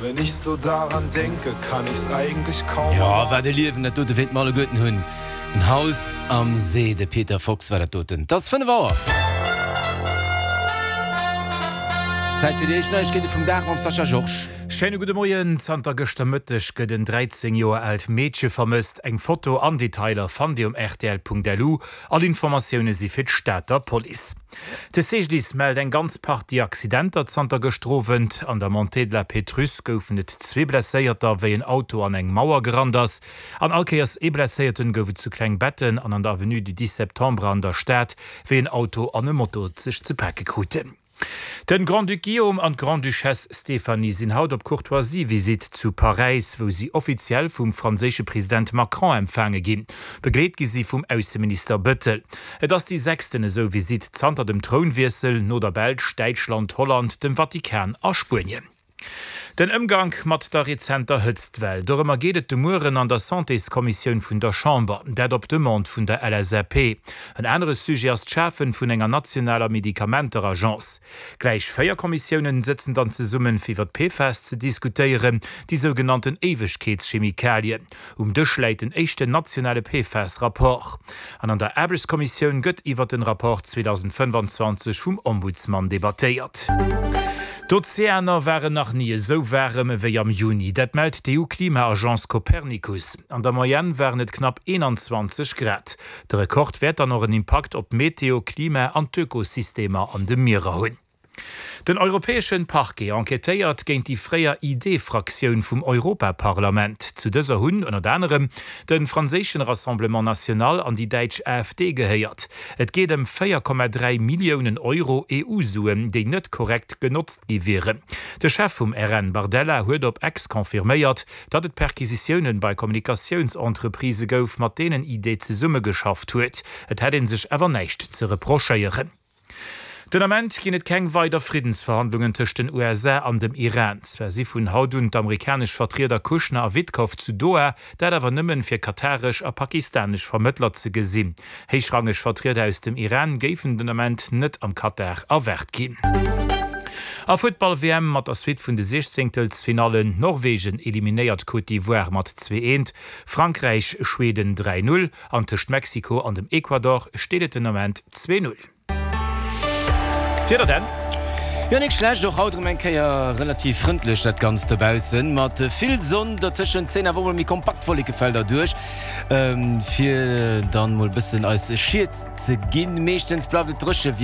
Wenn ich so daran denke, kann ich's eigentlich kaum Jo, erwarten. wat e Liewen dat dote wéilt mer alleguerten hunn. En Haus am See, de Peter Fox war dat doten. Et ass 5 Auer. Zäit fir déi éischt Neiegkeete vum Dag mam Sascha Georges. Schéine gudde Moien. Zanter gëschter Mëtteg gëtt en 13 Joer aalt Meedche vermësst. Eng Foto an Detailer fannt Dir um rtl.lu. All Informatioune si fir d'Stater Police. De CGDIS mellt eng ganz Partie Accidenter zanter gëschter Owend. An der Montée de la Pétrusse goufen et zwee Blesséierter, wéi en Auto an eng Mauer gerannt ass. An all Kéiers ee Blesséierten gouf et zu Klengbetten an an der Avenue du 10 Septembre an der Stad, wéi en Auto an e Moto sech ze pake kruten. Den Grand-Duc Guillaume an d'Grande-Duchesse Stéphanie sinn haut op Courtoisie-Visitt zu Paräis, wou si offiziell vum franséische President Macron empfaange ginn. Begleet gi si vum Ausseminister Bettel. Et ass déi sechsten esou Visitt zanter dem Trounwiessel, no der Belsch, Däitschland, Holland, dem Vatikan a Spuenien. Den Ëmgank mat der rezenter Hëtztwell, dorëmmer geet et de Mueren an der Santéskommissioun vun der Chamber. Dat op Demande vun der LSAP. En anere Sujet ass d'Schafe vun enger nationaler Medikamenteragence. Gläich 4 Kommissiounen sëtzen dann zesummen, fir iwwer d'PFAS ze diskutéieren, déi sougenannten Éiwegkeetschemikalien. Um Dësch läit den éischten nationale PFAS-Rapport. An an der Aarbechtskommissioun gëtt iwwer den Rapport 2025 vum Ombudsman debattéiert. D'Ozeaner waren nach ni esou waarem ewéi am Juni. Dat mellt d'EU-Klima-Agence Copernicus. An der Moyenne waren et knapp 21 Grad. De Rekord wäert dann och en Impakt op d'Meteo, Klima an d'Ökosystemer an de Mierer hunn. Den europäeschen Parquet enquêtéiert géint déi fréier ID-Fraktioun vum Europaparlament. Zu dëser hunn ënnert anerem de franséischen Rassemblement National an déi däitsch AfD gehéiert. Et geet ëm 4,3 Milliounen Euro EU-Suen, déi net korrekt genotzt gi wieren. De Chef vum RN Bardella huet op X confirméiert, datt et Perquisitiounen bei Kommunikatiounsentreprisë gouf, mat deenen ID zesummegeschafft huet. Et hätt ee sech awer näischt ze reprochéieren. Den Ament ginn et keng weider Friddensverhandlungen tëscht den USA an dem Iran. Zwar si vun haut un d'amerikanesch Vertrieder Kushner a Witkoff zu Doha, dat awer nëmmen fir kataresch a pakistanesch Vermëttler ze gesinn. Héichrangeg Vertrieder aus dem Iran géifen den Ament net am Katar erwaart ginn. A Futtball-WM mat der Suite vun de Siechzéngtelsfinallen, Norwegen eliminéiert Côte d'Ivoire mat 2, 1, Frankräich Schweden 3, 0. An tëscht Mexiko an dem Ecuador steet et den Ament 2, 0. D'Wieder dann? Jo, nik schlecht, och haut erëm eng Kéier relativ frëndlech dat Ganzt dobaussen, mat vill Sonn. Dertëschent zéien awer och mol méi kompakt Wollekefelder duerch, fir dann mol bëssen eis Schied ze ginn. Meeschtens bleift et dréche.